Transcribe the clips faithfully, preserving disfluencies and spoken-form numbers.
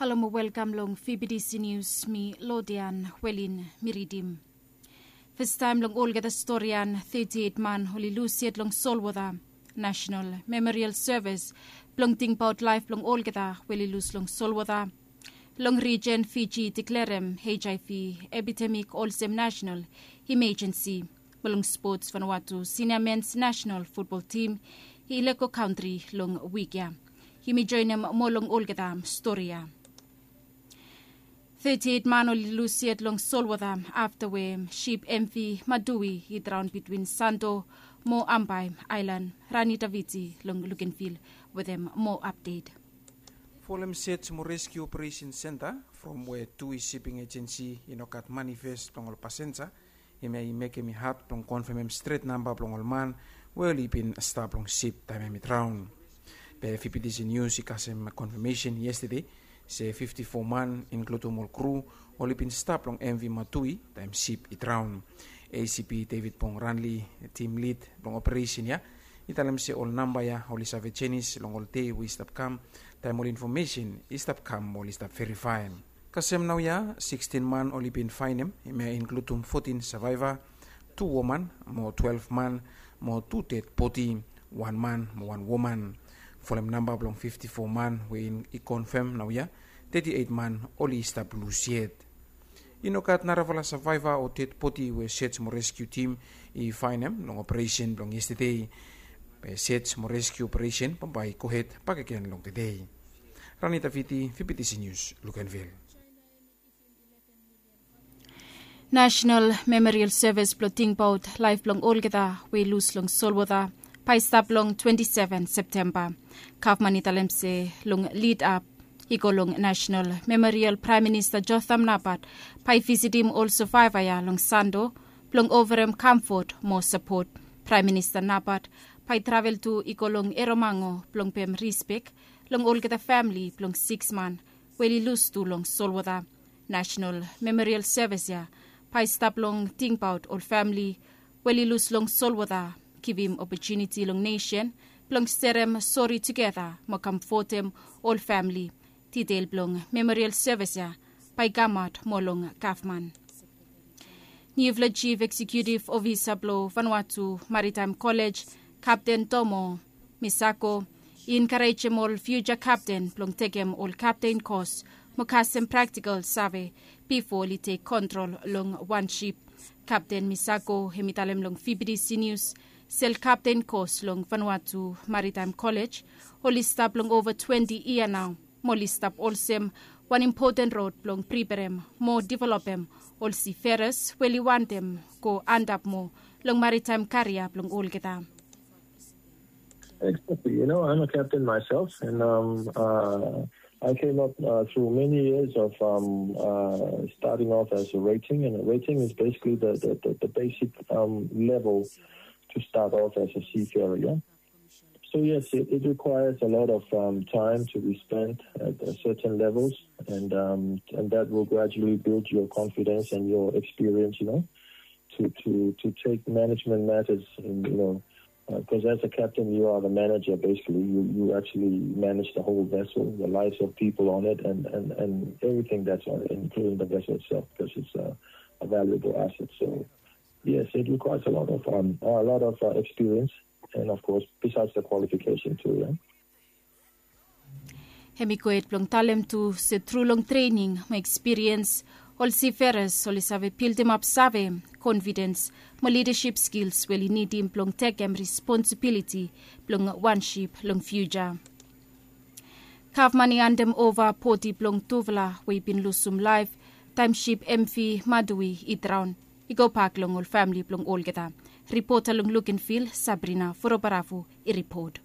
Halo mo welkam long F B T C News, mi Lodian Welin mi ridim. Fastaem long olgeta storian, thirty-eight man oli lus yet long solwota. National Memorial Service blong tingbaot laef blong olgeta we oli lus long solwota long rijen Fiji deklerem H I V epidemik olsem national imejensi. Mo long spots, Vanuatu sinia mens national futbol tim i lego kantri long wik ya. Yumi joenem moa long olgeta stori ya. Thirty-eight man oli lus yet long solwota afta we sip M V Madui i draon bitwin Santo mo Ambae Aelan. Rani Daviti long Lukenvil wetem moa apdet. Folem Search mo Rescue Operation Center from we Tui Shipping Agency i no gat manifest blong ol pasenja. Hemia i mekem i had blong konfemem stret namba blong ol man we oli bin stap long sip taem hem i draon. Be F B T C News i kasem konfemesen yestede se fifti fo man, inkludum ol kru, oli bin stap long M V Matui taem sip i draon. A C P David Pong Ranli, tim lid blong operesen ya, i talem se ol namba ya oli save jenis long ol dei we i stap kam, taem ol infomesen i stap kam mo oli stap verifaem. Kasem naoia sikstin man oli bin faenem, hemia i inkludum fotin savaeva, tu woman mo twelef man mo tu ded bodi, wan man mo wan woman. Folem namba blong fifti fo man we i konfem naoia, teti eit man oli stap lus yet. I no gat narafala savaeva o ded bodi we Search mo Rescue tim i faenem long operesen blong yestede. Be Search mo Rescue operesen bambae i gohed bakegen long tede. Rani Daviti, F B T C News, Lukenvil. National Memorial Service blong tingbaot laef blong olgeta we i lus long solwota bae i stap long twenti seven Septemba. Gavman i talem se long lidap i go long National Memorial, Praem Minista Jotham Napat bae i visitim ol savaeva ya long Sando blong oferem kamfot mo sapot. Praem Minista Napat bae i travel tu i go long Eromango blong pem rispek long olgeta famili blong siks man we oli lus tu long solwota. National Memorial Service ya bae i stap long tingbaot ol famili we oli lus long solwota, givim opotuniti long nesen blong serem sori tugeta mo kamfotem ol famili. Ditel blong Memorial Service ya bae i kamaot moa long gavman. Niufala Chief Executive Officer blong Vanuatu Maritime College, Kapten Tomo Misako, i enkarejem ol fiuja kapten blong tekem ol kapten kos mo kasem praktikal save bifo oli tek kontrol long wan sip. Kapten Misako hem i talem long F B T C News se ol kapten kos long Vanuatu Maritime College oli stap long ova twenti yia nao, mo oli stap olsem wan impoten rod blong priperem mo developem ol siferas we oli wantem go antap moa long maritaem karia blong olgeta. Exactly. You know, I'm a captain myself, and um, uh, I came up uh, through many years of um, uh, starting off as a rating, and a rating is basically the, the, the, the basic um, level to start off as a seafarer. Yeah? So yes, it, it requires a lot of um, time to be spent at uh, certain levels, and um, and that will gradually build your confidence and your experience. You know, to to to take management matters in, you know, because as a captain, you are the manager. Basically, you you actually manage the whole vessel, the lives of people on it, and and and everything that's on it, including the vessel itself, because it's a, a valuable asset. So yes, it requires a lot of um, a lot of uh, experience, and of course, besides the qualification too. Yeah? Hem i gohed blong talem tu se tru long trening mo ekspiriens, ol siferas oli save bildimap save, konfidens mo lidasip skils we oli nidim blong tekem responsibiliti blong wan sip long fiuja. Gavman i handem ova bodi blong tufala we i bin lusum laef taem sip M V Madui i draon i gobak long ol famili blong olgeta. Ripota long Lukenvil, Sabrina Furobaravu i ripot.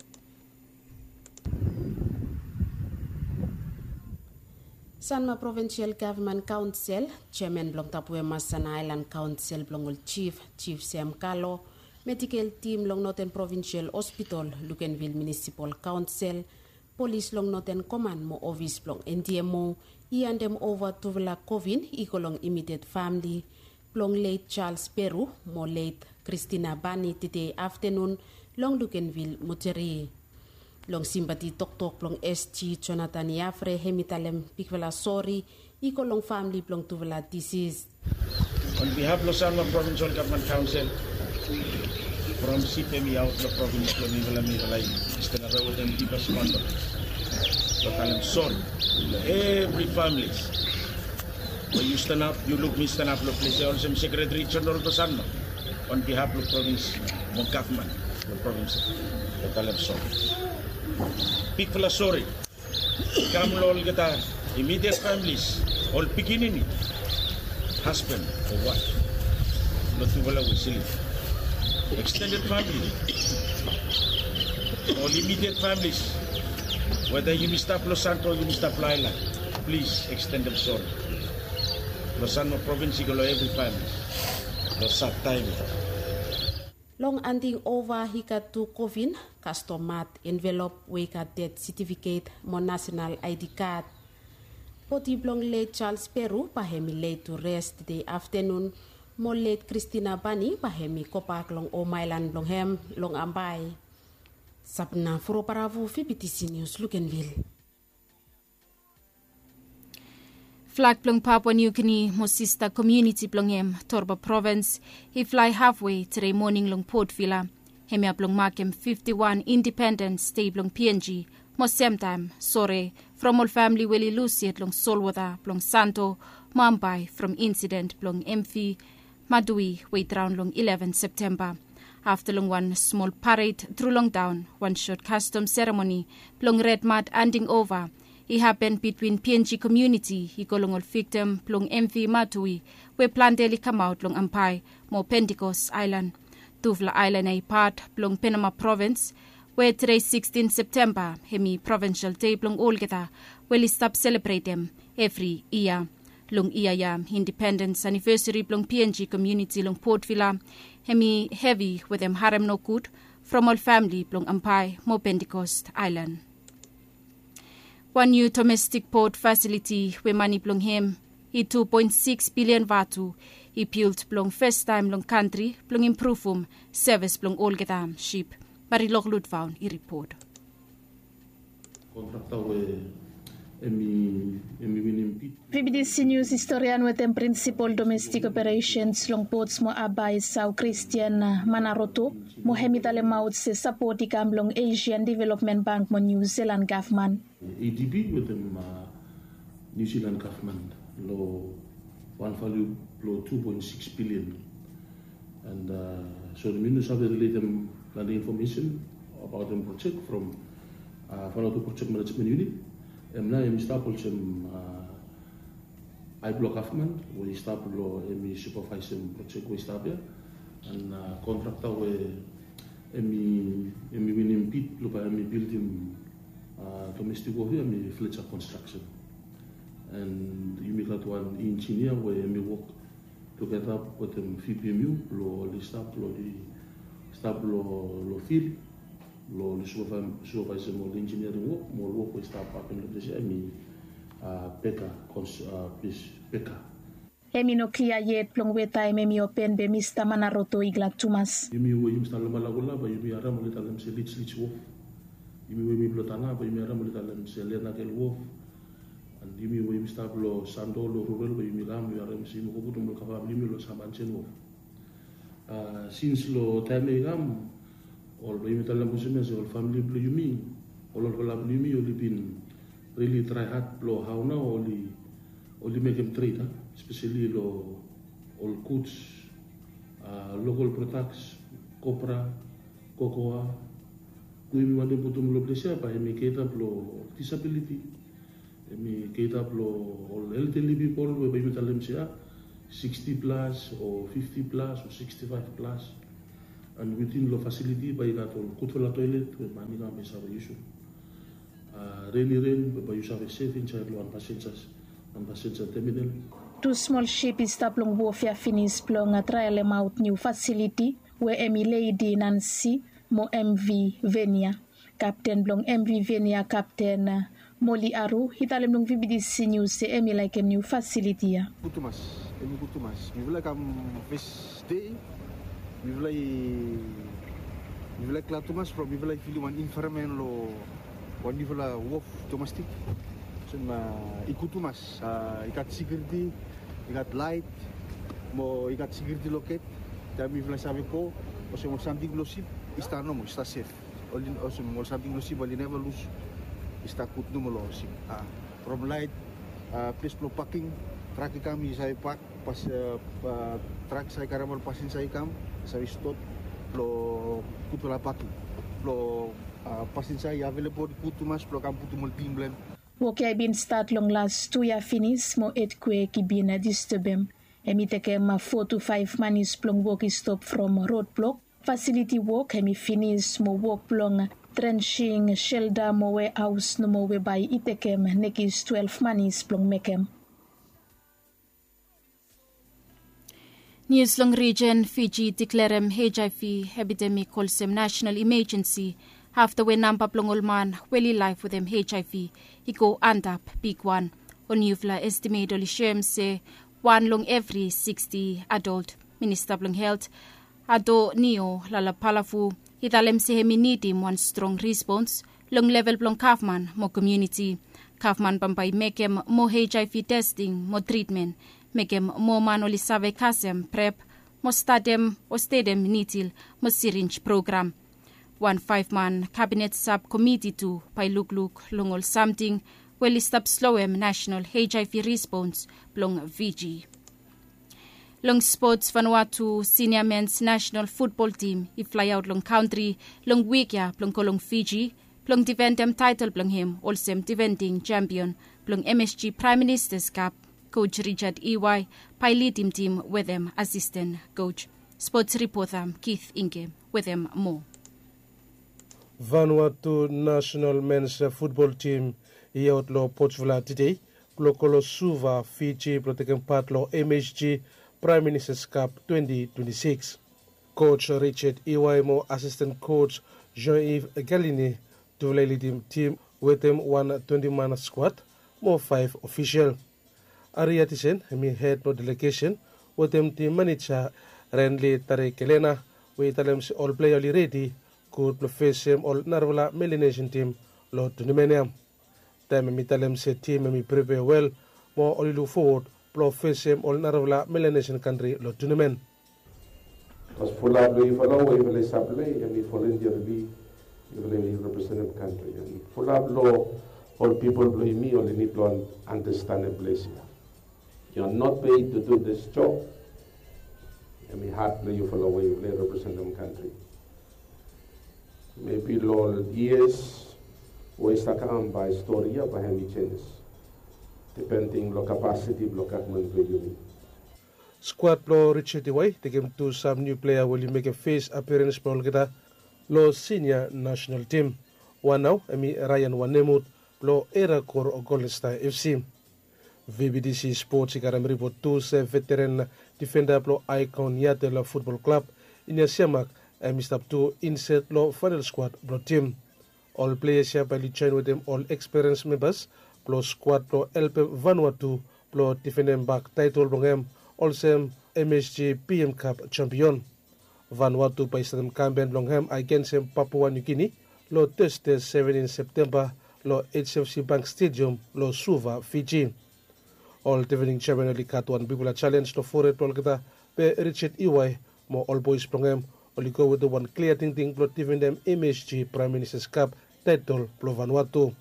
Sanma Provincial Government Council, Chairman blong Tapuema Sana Island Council blong ol Chief, Chief Sam Kalo, Medical Team long Northern Provincial Hospital, Lukenvil Municipal Council, Polis long Northern Command mo ofis blong N D M O i handem ova tufala kovin i go long imediet famili blong leit Charles Peru mo leit Christina Bani tede aftanun long Lukenvil Moteri. Long simpati toktok blong S G Jonathan Yafre, hem i talem bigfala sori i go long famili blong tufala disis. On behalf blong Sanma Provincial Government Council, from sip hem i aot long provins blong mifala, mifala i stanap wetem dipes kondol blong talem sori long evri familis. Yu stanap, yu luk mi stanap long ples ya olsem Sekretari Jeneral blong Sanma. On behalf blong provins mo gavman blong provins, blong talem sori. Bigfala sori i kam long olgeta immediate families, ol pikinini, hasban o waef blong tufala we i slip. Extended famili, ol immediate families, weda yumi stap long Santo, yumi stap long aelan, plis ekstendem sori. Long Sanma Provins i go long evri famili long sad taem ya. Long handing ova i gat tu kofin, kastom mat, envelop we i gat ded setifiket mo nasenal I D kad. Bodi blong let Charles Peru bae hem i led tu res tede aftenun, mo let Kristina Bani bae hem i gobak long hom aelan blong hem long Ambae. Sabna Furo Baravu, V B T C News, Luganville. Flag blong Papua New Guinea mo sista komuniti blong hem, Torba Provins, i flae hafwe tede moning long Port Vila. Hemia blong makem fifti wan Independens Dei blong P N G, mo semtaem sore from ol famili we oli lus yet long solwota blong Santo mo Ambae from insiden blong M V Madui we i draon long ileven Septemba. Afta long wan smol pared tru long taon, wan sot kastom seremoni blong red mat handing ova i hapen bitwin P N G komuniti i go long ol viktim blong M V Madui we plante oli kamaot long Ambae mo Pentecost Aelan. Tufala aelan ya i pat blong Penama Provins, we tede sikstin Septemba hem i provinsel dei blong olgeta we oli stap selebretem evri yia. Long yia ya, independens anivesari blong P N G komuniti long Port Vila hem i hevi wetem harem nogud from ol famili blong Ambae mo Pentecost Aelan. Wan niu domestik pot fasiliti we mane blong hem i tu poen sikis bilian vatu i bild blong fastaem long kantri blong impruvum sevis blong olgeta sip. Marilok Lutvaon i ripot. Kontrakta we hem i, hem i winim bid. V B T C Nius historian wetem prinsipol domestik operesens long Pots mo Haba Esau, Kristian Manaroto, mo hem i talemaot se sapot i kam long Asian Development Bank mo Niu Silan gavman. A D B wetem, a, Niu Silan gavman long wan valiu blong tu poen sikis bilian. And, a, sori, mi no save riletem plante infomesen abaotem projek from, a, Vanuatu Project Management Unit. Hem nao hem i stap olsem, a, ae blong gavman we i stap long, hem i supavaesem projek we i stap ya. And, a, kontrakta we hem i, hem i winim bid blong bae hem i bildim, a, domestik wok ya hem i Fletcher Construction. And yumi gat wan injinia we hem i wok tugeta wetem V P M U blong oli stap, blong oli stap long, long fil blong oli supavae-, supavaesem ol injiniaring wok mo ol wok we i stap hapen long ples ya, hem i, a, Beka Kons-, a, ples Beka. Hem i no klia yet blong we taem hem i open be Mista Manaroto i glad tumas. Yumi we yumi stap long Malakula bae yumi harem oli talem se Lij Lij Wof. Yumi we yumi blong Tana bae yumi harem oli talem se Lenakel Wof. And yumi we yumi stap long Santo, long rural, bae yumi kam yumi harem se yumi go putum ol kava blong yumi long Samanjen Wof. A, sins long taem ya i kam, ol, bae yumi talem olsem ya se ol famili blong yumi, ol olfala blong yumi oli bin rili trae had blong hao nao oli, oli mekem tred, a, espeseli long ol guds, a, lokol prodaks, kopra, kokoa, we yumi wantem putum long ples ya bae hem i keta blong disabiliti. Hem i keta blong ol elderly pipol we bae yumi talem se, a, siksti plas o fifti plas o siksti faef plas. And witin long fasiliti bae i gat ol gudfala toelet we man i kam bae i save yusum. A, ren i ren, bae yu save sef insaed long wan pasenja, wan pasenja teminal. Tu smol sip i stap long wof ya finis blong, a, traelemaot niu fasiliti we hem i Lady Nancy mo M V Venia. Kapten blong M V Venia, Kapten, a, Moli Aru, i talem long V B T C Nius se hem i laekem niu fasiliti ya. Gud tumas, hem i gud tumas. Mifala i kam fes dei, mifala i Mifala i glad tumas from mifala i filim wan environment long wan nifala wok domestik. Olsem i gud tumas, i gat sekuriti, i gat lait, mo i gat sekuriti loket. Taem mifala i save go, olsem ol samting blong sip i stap nomo, i stap sef. Olsem ol samting blong sip oli neva lus, i stap gud nomo long sip. From lait, ples blong paking, trak i kam i save pak, pas trak i save karem ol pasinja i kam, save stot blong gudfala paking blong pasinja i avelebol gud tumas blong kam putum ol ting blong hem. Wok ya i bin stat long las tu yia finis mo etkwek i bin distebem. Hem i tekem fo tu faef manis blong wok i stop from rodblok, fasiliti wok hem i finis mo wok blong trenshing shelda mo wehaos nomo we bae i tekem nekis twelef manis blong mekem. Nius long rijen Fiji i diklerem HIV epidemik olsem nasenal imejensi afta we namba blong ol man we oli laef wetem HIV i go antap bigwan. Ol niufala estimet oli soem se wan long evri siksti adol. Minista blong helt Adonio Lalapalafu i talem se hem i nidim wan strong respons long level blong gavman mo komuniti. Gavman bambae i mekem moa HIV testing mo tritmen, mekem moa man oli save kasem prep mo statem o stetem nidil mo sirinj program. Wan faef man kabinet sab komiti tu bae i lukluk long ol samting we oli stap sloem nasenal HIV respons blong Fiji. Long spots, Vanuatu sinia mens nasenal futbol tim i flaeaot long kantri long wik ya blong go long Fiji blong difendem taetol blong hem olsem difending sempion blong MSG Praem Ministas Kap. Koj Richard Iwai bae i lidim tim wetem asisten koj. Spots ripota Kith Ingem wetem moa. Vanuatu nasenal mens futbol tim i aot long Port Vila tede blong go long Suva, Fiji blong tekem pat long MSG Praem Ministas Kap twenti twenti sikis. Koj Richard Iwai mo asisten koj Jean-Yves Galini tufala i lidim tim wetem wan twenti man skwad mo faef ofisel. Ari Atisen hem i hed blong delegesen wetem tim maneja Renli Tarekelena we i talem se ol plea oli redi gud blong fesem ol narafala Melanesian tim long tunimen ya. Taem hem i talem se tim hem i pripea wel mo oli lukfowod blong fesem ol narafala Melanesian kantri long tunimen. Bikos fulap long yufala we yufala i save plei hem i voluntarily yufala i representem kantri. Hem i fulap long ol pipol blong yumi oli nid blong andastanem ples ya. Yu are not paid to do this job. Hem i hat blong yufala we yufala i representem kantri. Mebi long ol yias we i stap kam bae stori ya bae hem i jenis dipending long kapasiti blong gavman blong yumi. Skwad blong Richard Iwai i tekem tu sam niu plea we oli mekem fes aperens blong olgeta long sinia nasenal tim. Wan nao hem i Ryan Wanemut blong Erakor Golden Star FC. VBTC Spots i karem ripot tu se veteren difenda blong Aikon Yatel futbol klab, Inia Siamak, hem i stap tu inset long faenal skwad blong tim. Ol pleas ya bae oli joen wetem ol eksperens membas blong skwad blong helpem Vanuatu blong difendem bak taetol blong hem olsem MSG PM Kap jampion. Vanuatu bae i statem kampen blong hem agensem Papua Niu Gini long Tesde seventin Septemba long HFC Bank Stediam long Suva, Fiji. Ol difending jampion oli gat wan bigfala jalenj long fored blong olgeta, be Richard Iwai mo ol boes blong hem oli go wetem wan klia tingting blong difendem MSG Praem Ministas Kap taetol blong Vanuatu.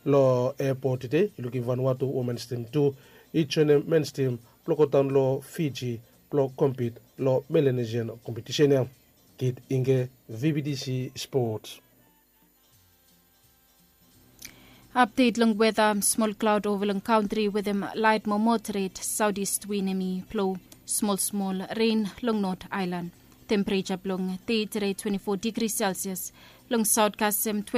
Long epot tede i lukim Vanuatu womens tim tu i joenem mens tim blong godaon long Fiji blong kompit long Melanesian kompetisen ya. Kit Inge, VBTC Sports. Apdet long weta, smol klaod ova long kantri wetem laet mo moderet saotist win hem i blo, smol smol ren long Not Aelan. Tempereja blong dei tede twenti fo digri Selsias, long saot kasem